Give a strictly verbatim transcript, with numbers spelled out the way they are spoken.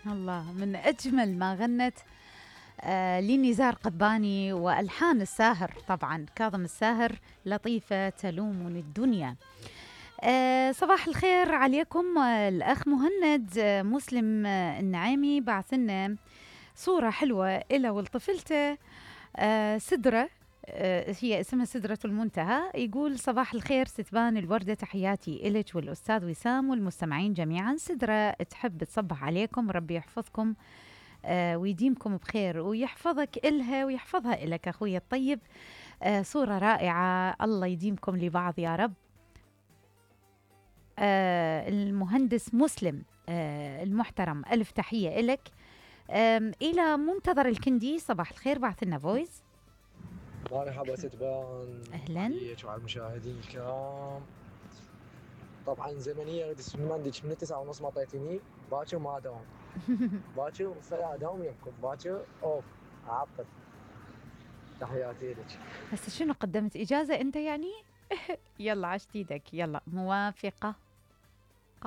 الله، من أجمل ما غنت آه لنزار قباني وألحان الساهر، طبعا كاظم الساهر، لطيفة تلومني الدنيا. آه صباح الخير عليكم. آه الأخ مهند آه مسلم آه النعيمي بعث لنا صورة حلوة إلى ولطفلته آه سدرة، آه هي اسمها سدرة المنتهى. يقول صباح الخير ستبان الوردة، تحياتي إلك والأستاذ وسام والمستمعين جميعا. سدرة تحب تصبح عليكم، ربي يحفظكم آه ويديمكم بخير ويحفظك إلها ويحفظها إلك أخوي الطيب. آه صورة رائعة، الله يديمكم لبعض يا رب. آه المهندس مسلم آه المحترم، ألف تحية إلك. إلى منتظر الكندي صباح الخير، بعث لنا فويس. مرحبا ستبان، أهلاً عليك وعلى المشاهدين الكرام. طبعا زمنية غدي من عندك من تسعة ونص ما طيتني، باكر ما داوم باكر فلا اداوم يمكم باكر اوف اعطل. تحياتي لك. هسه شنو قدمت إجازة أنت يعني؟ يلا عشت ايدك، يلا موافقة.